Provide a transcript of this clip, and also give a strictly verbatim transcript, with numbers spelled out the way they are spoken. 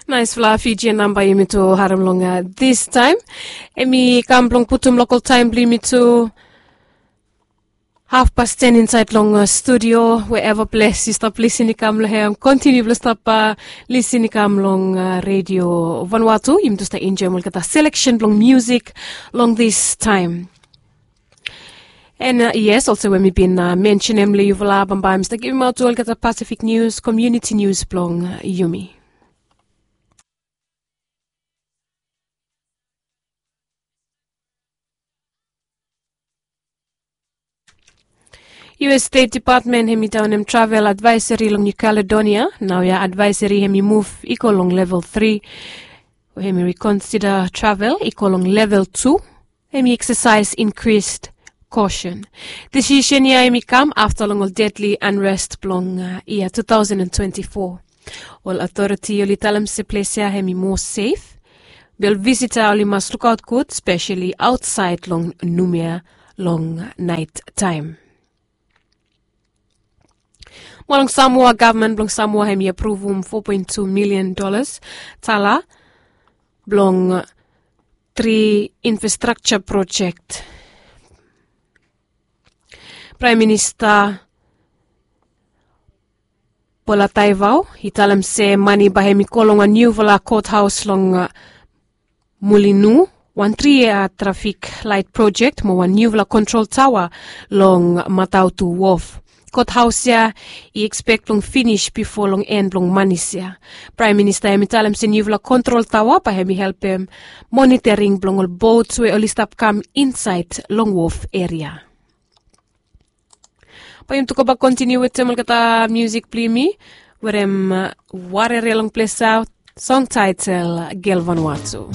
Naisfala Fijian namba yumi tu harem long distaem. Em i kam blong putum lokal taem blong yumi tu hafpas ten insaed long studio. Wherever ples yu stap lisin i kam long hem, kontiniu blong stap lisin i kam long redio Vanuatu. Yumi tu stap enjoem olgeta seleksen blong musik long distaem. And yes, olsem we mi bin mensenem long yufala, bambae mi stap givimaot tu olgeta Pacific News, komuniti nius blong yumi. U S State Department hem i daonem travel advaeseri long New Caledonia. Naoia advaeseri hem i muv i go long level tri, we hem i rikonsida travel i go long level tu. Hem i eksasaes inkris kosen. Disisen ya hem i kam afta long ol dedli anrest blong yia tu taosen twenti fo. Ol aotoriti oli talem se ples ya hem i moa sef. Be ol visita oli mas lukaot gud, speseli aotsaed long Numea long naet taem. Mo long Samoa, gavman blong Samoa hem i apruvum fo poen tu milian dolas tala blong tri infrastrakja projek. Praem Minista Polataivao i talem se mane bae hem i go long wan niufala kothaos long Mulinu, wan tri yia trafik laet projek mo wan niufala kontrol taoa long Matautu wof. Kothaos ya i ekspek blong finis bifo long en blong manis ya. Praem Minista hem i talem se niufala kontrol taoa bae hem i helpem monitoring blong ol bots we oli stap kam insaed long wof eria. Bae yumi tu gobak kontiniu wetem olgeta musik blong yumi. Wetem warere long ples ya, song taetel Gel Vanuatu.